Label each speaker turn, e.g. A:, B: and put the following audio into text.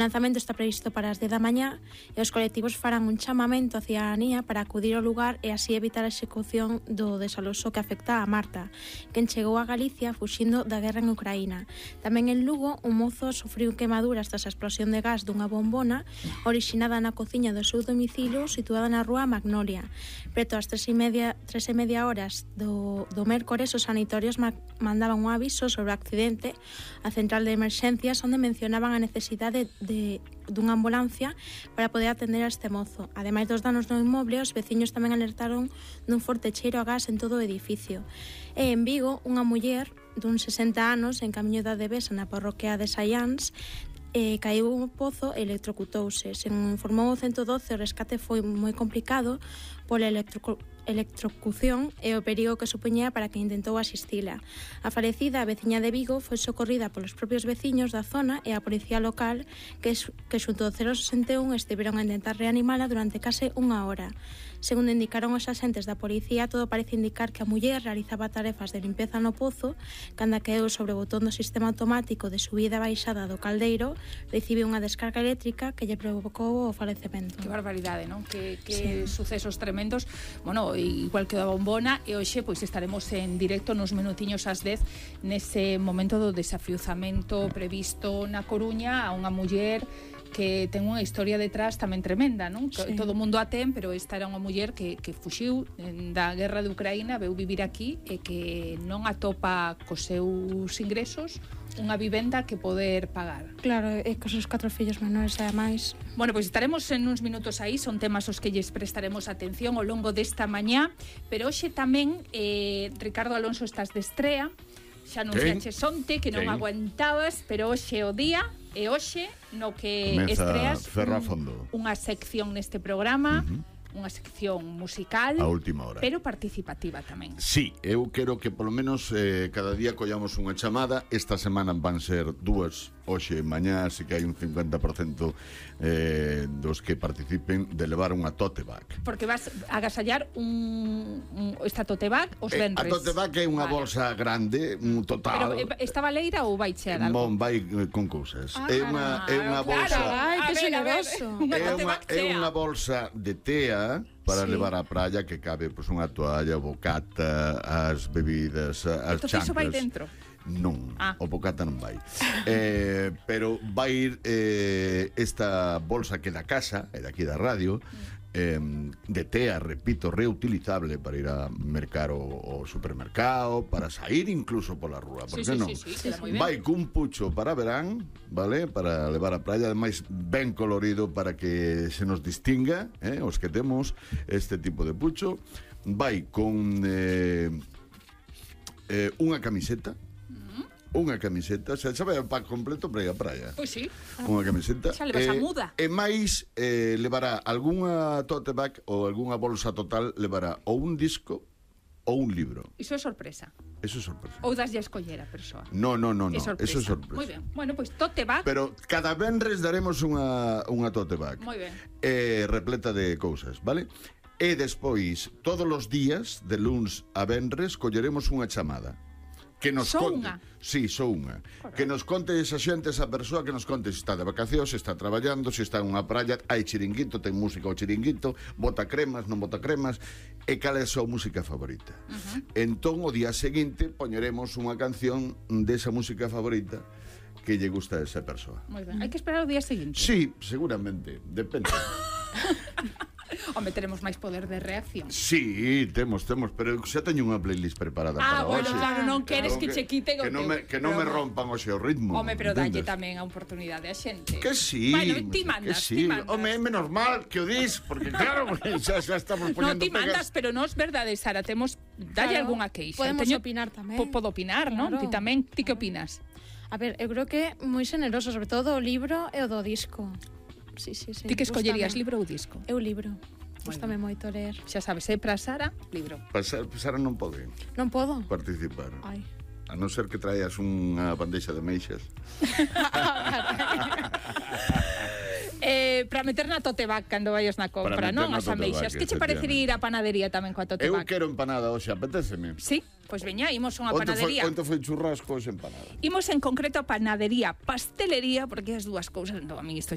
A: O lanzamento está previsto para as 10 da mañá e os colectivos farán un chamamento á cidadanía para acudir ao lugar e así evitar a execución do desaloxo que afecta a Marta, quen chegou a Galicia fuxindo da guerra en Ucraína. Tamén en Lugo, un mozo sufriu quemaduras tras a explosión de gas dunha bombona orixinada na cociña do seu domicilio situada na rúa Magnolia. Preto ás 3:30 horas do mércores, os sanatorios mandaban un aviso sobre o accidente á central de emerxencias onde mencionaban a necesidade dunha ambulancia para poder atender a este mozo. Ademais dos danos no inmoble, os veciños tamén alertaron dun forte cheiro a gas en todo o edificio. E en Vigo, unha muller dun 60 anos en camiño da Devesa na parroquia de Saiáns caiu un pozo e electrocutouse. Según informou o 112, o rescate foi moi complicado pola electrocución e o perigo que supoñía para que intentou asistila. A falecida, a veciña de Vigo, foi socorrida polos propios veciños da zona e a policía local que xunto ao 061 estiveron a intentar reanimala durante case unha hora. Segundo indicaron os axentes da policía, todo parece indicar que a muller realizaba tarefas de limpeza no pozo cando caeu sobre o botón do sistema automático de subida e baixada do caldeiro, recibiu unha descarga eléctrica que lle provocou o falecemento.
B: Que barbaridade, non? Que sí. Sucesos tremendos. Bueno, igual que da bombona, e hoxe pois estaremos en directo nos minutiños ás 10 nese momento do desafiuzamento previsto na Coruña a unha muller que ten unha historia detrás tamén tremenda, non? Sí. Todo o mundo a ten, pero esta era unha muller que fuxiu da guerra de Ucraína, veu vivir aquí e que non atopa cos seus ingresos unha vivenda que poder pagar.
A: Claro, e cos seus 4 fillos menores, ademais.
B: Bueno, pois estaremos en uns minutos aí, son temas aos que lles prestaremos atención ao longo desta mañá, pero hoxe tamén, Ricardo Alonso, estás de estrea, xa anunciaches onte que non aguantabas, pero hoxe é o día, e hoxe no que
C: comeza
B: estreas
C: unha
B: sección neste programa, unha sección musical
C: a última hora,
B: pero participativa tamén.
C: Sí, eu quero que polo menos cada día collamos unha chamada. Esta semana van ser 2, hoxe e mañá, así que hai un 50% dos que participen de levar unha tote bag.
B: Porque vas a agasallar esta tote bag os venres.
C: A tote bag é unha bolsa grande, un total.
B: Pero está baleira ou vai chear algo?
C: Vai con cousas. É unha bolsa.
A: Ai, que xeneroso.
C: É unha bolsa de tea para levar á praia, que cabe pois unha toalla, bocata, as bebidas, as chanclas.
B: Iso vai dentro?
C: Non, o bocata non vai. Pero vai ir esta bolsa que da casa, e daqui da radio, de tea, repito, reutilizable para ir a mercar o supermercado, para sair incluso pola rúa, por que non? Vai cun pucho para verán, vale? Para levar a praia, ademais ben colorido para que se nos distinga, os que temos este tipo de pucho. Vai con unha camiseta, xa vai o pack completo para ir á praia.
B: Pois sí.
C: Unha camiseta.
B: Xa levas a muda.
C: E máis, levará algunha tote bag ou algunha bolsa total, levará ou un disco ou un libro.
B: Iso é sorpresa.
C: Eso é sorpresa.
B: Ou daslle a escoller a persoa.
C: No, eso é sorpresa.
B: Moi ben. Bueno, pois tote bag.
C: Pero cada venres daremos unha tote bag.
B: Moi ben.
C: Repleta de cousas, vale? E despois, todos os días, de luns a venres, colleremos unha chamada que nos conte. Sí, só unha. Que nos conte esa xente, esa persoa, que nos conte se está de vacacións, se está traballando, se está en unha praia, hai chiringuito, ten música ao chiringuito, bota cremas, non bota cremas, e cal é a súa música favorita. Entón, o día seguinte, poñeremos unha canción desa música favorita que lle gusta a esa persoa.
B: Moi ben. Hai que esperar o día seguinte?
C: Sí, seguramente, depende.
B: Home, teremos máis poder de reacción.
C: Sí, temos, pero xa teño unha playlist preparada para hoxe.
B: Bueno, claro, non queres que che quiten o teu.
C: Que non me rompan o seu ritmo.
B: Home, pero dalle tamén a oportunidade a xente.
C: Que sí.
B: Bueno, ti mandas.
C: Home, é menos mal que o dis, porque claro, xa estamos poñendo.
B: Non, ti mandas, pero non é verdade, Sara, temos dalle algunha queixa.
A: Podemos opinar tamén.
B: Podo opinar, non? Ti tamén, ti que opinas?
A: A ver, eu creo que é moi xeneroso, sobre todo o libro e o do disco. Sí.
B: Ti que escollerías, libro ou disco?
A: Eu libro. Gústame moito ler.
B: Xa sabes, para Sara, libro.
C: Para Sara non pode.
A: Non podo
C: participar.
A: Ai.
C: A non ser que traías unha bandeixa de meixas.
B: Para meter na tote bag cando vayas na compra, non? As ameixas. Que che parecería ir á panadería tamén coa tote bag?
C: Eu quero empanada hoxe, apetéceme.
B: Sí, pois veña, imos a unha panadería.
C: Onte foi churrasco, hoxe empanada.
B: Imos en concreto a panadería, pastelería, porque as dúas cousas, a mí isto